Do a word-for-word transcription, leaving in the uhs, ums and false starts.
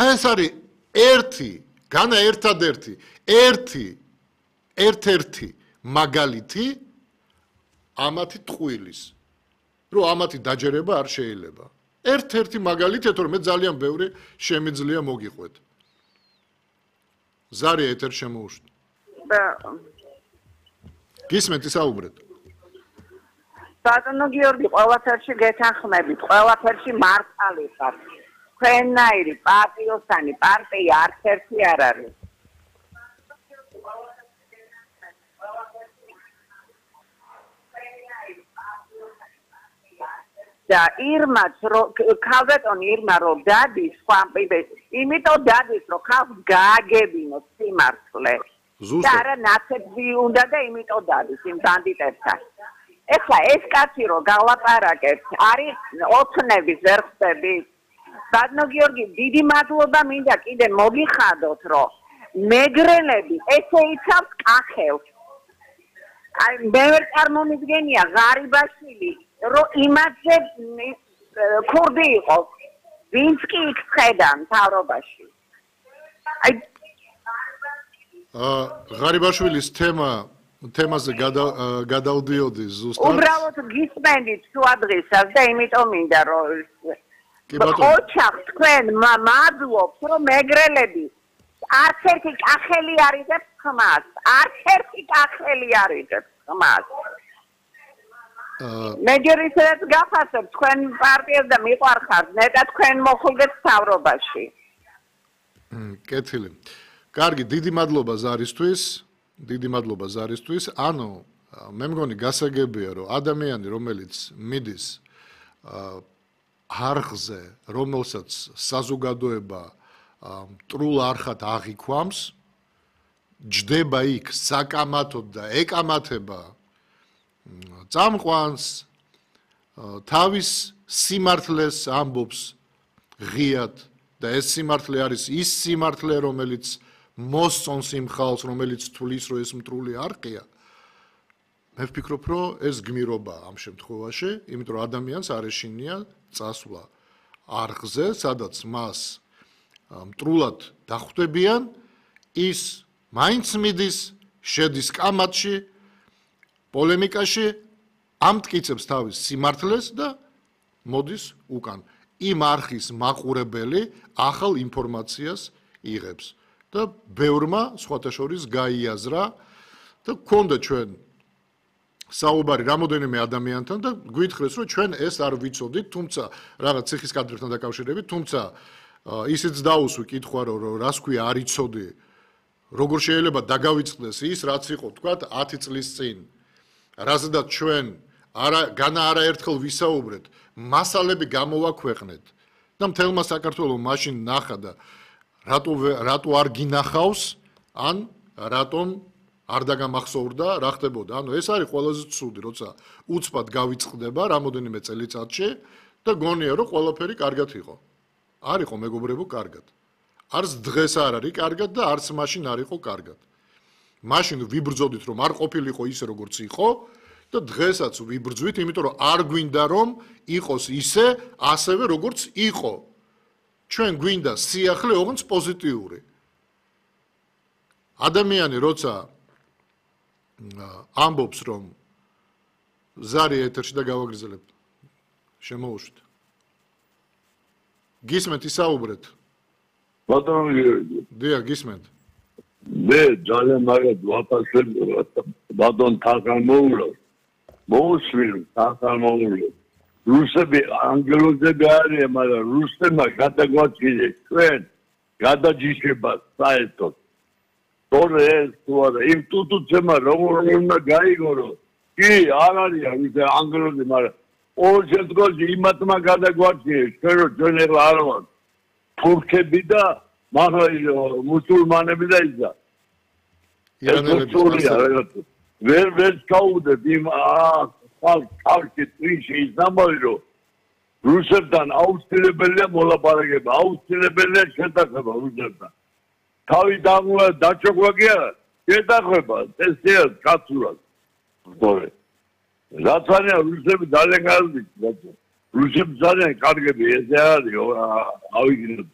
აი ეს არის ერთი, განა ერთადერთი, ერთი, ერთ-ერთი მაგალითი ამათი ტყუილის. რომ ამათი დაჯერება არ შეიძლება. ერთ-ერთი მაგალითია, თორე მე ძალიან ბევრი შემიძლია მოგიყვეთ. ზარი ეთერ შემოუშვა. გისმენთ ისაუბრეთ. ბატონო გიორგი, ყველაფერში გეთანხმებით, ყველაფერში მართალი ხარ. თქვენნაირი პატიოსანი პარტია არც ერთი არ არის. და ირმაც რო ქალბატონი ირმა რო დადის, სხვა იმიტომ დადის, რომ ხალხს გააგებინოს სიმართლე. და არა ნაცეცი უნდა და იმიტომ დადის იმ ბანდიტებთან. ეხლა ეს კაცი რო გალაპარაკებთ, არის ოცნების ვერხები. ბატონო გიორგი, დიდი მადლობა მინდა კიდე მოგიხადოთ, რომ მეგრელები ესე იცავს კახელს. აი მე ვერ წარმომიდგენია ღარიბაშვილი, რომ იმათზე ქურდი იყოს. ვინც კი იქ ხედა მთავრობაში. აი აა ღარიბაშვილის თემა თემაზე გადავდიოდი ზუსტად. უბრალოდ გისმენდით შუადღისას და იმიტომ მინდა რომ ოჩახ თქვენ მადლობთ რომ მეგრელები არც ერთი კახელი არ იღებს ხმას. არც ერთი კახელი არ იღებს ხმას. მე ჯერისედაც გახასებ თქვენ პარტიას და მიყვარხართ ნეტა თქვენ მოხულდეთ მთავრობაში. კეთილი. კარგი, დიდი მადლობა ზარისთვის. დიდი მადლობა ზარისთვის. ანუ მე მგონი გასაგებია რომ ადამიანი რომელიც მიდის არხზე, რომელსაც საზოგადოება მტრულ არხად აღიქვამს, ჯდება იქ საკამათოდ და ეკამათება წამყვანს, თავის სიმართლეს ამბობს ღიად და ეს სიმართლე არის ის სიმართლე, რომელიც მოსწონს იმ ხალხს, რომელიც თulis რომ ეს მტრული არყია. მე ვფიქრობ, რომ ეს გმირობა ამ შემთხვევაში, იმიტომ რომ ადამიანს არ ეშინია წასვლა არხზე, სადაც მას მტრულად დახვდებიან, ის მაინც მიდის, შედის კამათში, პოლემიკაში, ამტკიცებს თავის სიმართლეს და მოდის უკან. იმ არხის მაყურებელი ახალ ინფორმაციას იღებს. და ბევრმა სხვათა შორის გაიაზრა და გქონდა ჩვენ საუბარი რამოდენიმე ადამიანთან და გვითხრეს რომ ჩვენ ეს არ ვიცოდით, თუმცა რაღაც ციხის კადრებთან დაკავშირებით, თუმცა ისიც დაუსვი კითხვა რომ რას ქვია არ იცოდი, როგორ შეიძლება დაგავიწყდეს ის, რაც იყო თქვათ ათი წლის წინ. რაზედაც ჩვენ არა განა არაერთხელ ვისაუბრეთ, მასალები გამოვაქვეყნეთ და მთელმა საქართველოს მაშინ ნახა და რატო რატო არ გინახავს ან რატომ არ დაგამახსოვრდა რა ხდებოდა. ანუ ეს არის ყველაზე ცუდი, როცა უცბად გავიწყდება რამოდენიმე წელიწადში და გონია რომ ყველაფერი კარგად იყო. არ იყო მეგობრებო კარგად. არც დღეს არ არის კარგად და არც მაშინ არ იყო კარგად. მაშინ ვიბრძოდით რომ არ ყოფილიყო ისე როგორც იყო და დღესაც ვიბრძვით, იმიტომ რომ არ გვინდა რომ იყოს ისე, ასევე როგორც იყო. ჩვენ გვინდა სიახლე ოღონდ პოზიტიური. ადამიანი როცა ამბობს რომ ზარი ეთერში და გავაგრძელებ. შემოუშვით. გისმენთ ისაუბრეთ. ბატონო გიორგი. დიახ, გისმენთ. მე ძალიან მაგად ვაფასებ ბატონ თახამოულო. მოусვილი თახამოულო. რუსები ანგელოზები არიან, მაგრამ რუსებმა გადაგვაჩინეს ჩვენ გადაჯიშება საერთოდ. თორე ეს თუ არა, იმ ტუტუცემა როგორ უნდა გაიგორო. კი, არ არიან ისე ანგელოზები, მაგრამ ორ შემთხვევაში იმათმა გადაგვაჩინეს, ჩვენ რომ ჩვენ ეხლა არ ვართ თურქები და მუსულმანები და ისა. ირანელები. ვერ ვერ ჩაუდეთ იმ ხალხი წრიში ის ამბავი რომ რუსებთან აუცილებელია მოლაპარაკება, აუცილებელია შეთანხმება რუსებთან. თავი დაჩოქვა კი არა, შეთანხმება ესეა კაცურად. სწორე. რაც არის რუსები ძალიან კარგი, რუსები ძალიან კარგები, ესე არის, ავიგინოთ.